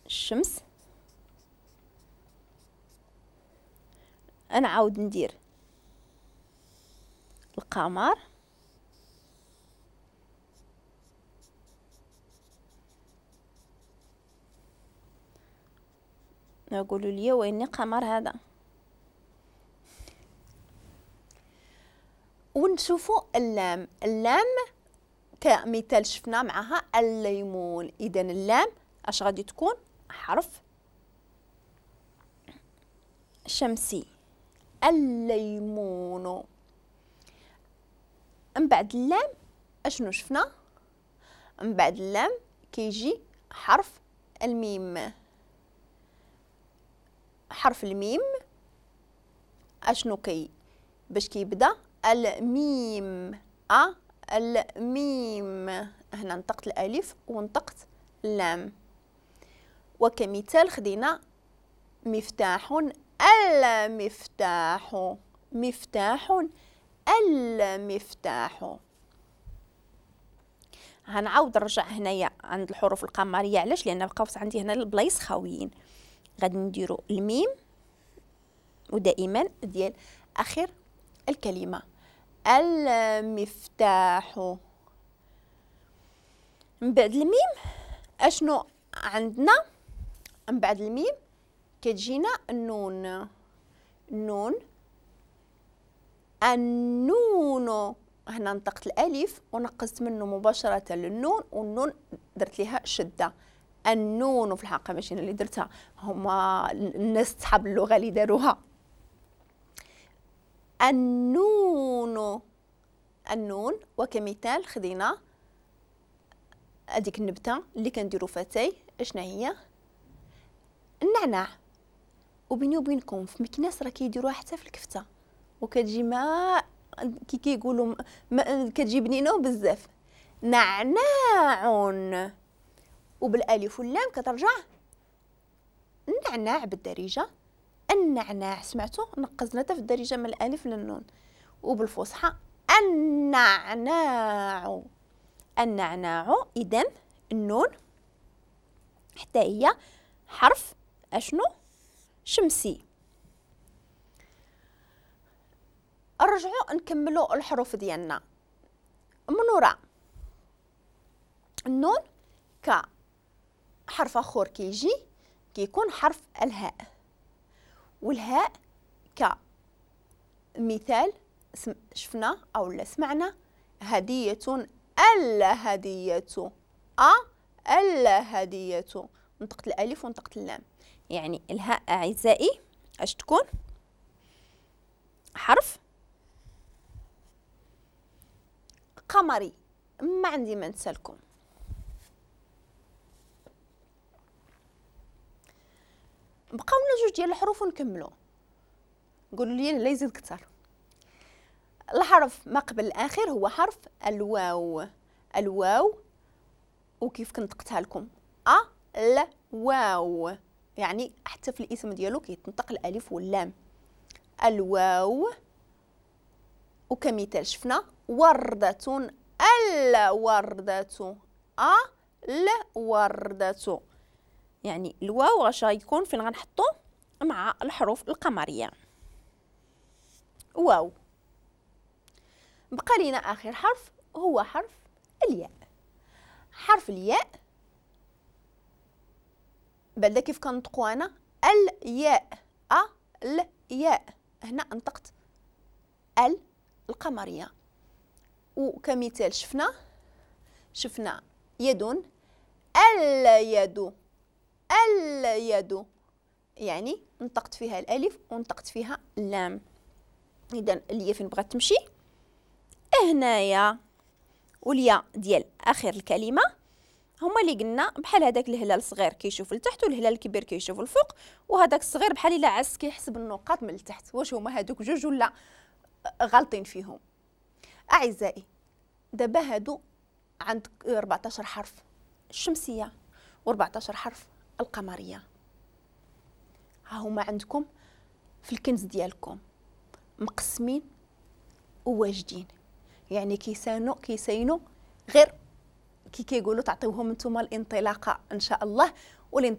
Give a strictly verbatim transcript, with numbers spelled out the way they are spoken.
الشمس. نعاود ندير القمر. نقولوا لي وين قمر هذا. ونشوفوا اللام. اللام كمثال شفنا معها الليمون. اذا اللام اش غادي تكون؟ حرف شمسي، الليمون. من بعد اللام اشنو شفنا؟ من بعد اللام كيجي حرف الميم. حرف الميم اشنو كي باش كيبدا؟ الميم، ا الميم. هنا نطقت الالف ونطقت اللام. وكمثال خدينا مفتاح، المفتاح، مفتاح، المفتاح. هنعاود نرجع هنايا عند الحروف القمريه. علاش؟ لان بقاو عندي هنا البلايص خاويين. غادي نديرو الميم ودائما ديال اخر الكلمة، المفتاح. من بعد الميم اشنو عندنا؟ من بعد الميم كتجينا النون. النون، النون. هنا نطقت الالف ونقصت منه مباشرة للنون، والنون درت ليها شده. النون في الحقيقة ماشي انا اللي درتها، هما الناس صحاب اللغة اللي داروها. النون، النون. وكمثال خدينا هذيك النبتة اللي كنديرو فاتاي، اشنا هي؟ النعناع. وبيني وبينكم في مكناس راه كيديروها حتى في الكفتة، وكتجي ما كي كيقولوا كتجي بنينه بزاف. نعناع، وبالالف واللام كترجع النعناع بالدارجة. النعناع، سمعتوا؟ نقزنا حتى في الدارجة من الالف للنون. وبالفصحى النعناع، النعناع. اذا النون حتى هي حرف اشنو؟ شمسي. نرجعوا نكملوا الحروف ديالنا من وراء النون. كحرف اخر كيجي كيكون حرف الهاء، والهاء كمثال شفنا او لا سمعنا هدية، الهدية، ا الهدية. نطقت الالف ونطقت اللام. يعني الهاء اعزائي اش تكون؟ حرف قمري. ما عندي ما نسالكم. بقاو لنا جوج ديال الحروف ونكملوا. قولوا لي لا يزيد كثر. الحرف ما قبل الاخر هو حرف الواو. الواو، وكيف كنطقتها لكم؟ ا ل واو، يعني حتى في الاسم ديالو كيتنطق الالف واللام. الواو. وكمثال شفنا وردة، الوردة، ا الوردة. يعني الواو غاش غيكون فين غنحطو؟ مع الحروف القمريه. واو. بقى لينا اخر حرف هو حرف الياء. حرف الياء بعدا كيف كنطقو انا؟ الياء، ا الياء. هنا نطقت ال القمريه. وكمثال شفنا شفنا يد، اليد، اليد، يعني نطقت فيها الالف ونطقت فيها اللام. اذا الياء فين بغات تمشي؟ هنايا. والياء ديال اخر الكلمة هما اللي قلنا بحال هذاك الهلال الصغير كيشوف لتحت والهلال الكبير كيشوف الفوق، وهذاك الصغير بحال الا عس كيحسب النقاط من التحت. واش هما هادوك جوج ولا غالطين فيهم؟ اعزائي دابا هادو عندك أربعطاش حرف الشمسية وأربعطاش حرف القمريه. ها هما عندكم في الكنز ديالكم مقسمين وواجدين، يعني كيسانو كيساينو غير كي كيقولوا تعطيوهم نتوما الانطلاقة ان شاء الله. والانطلاقه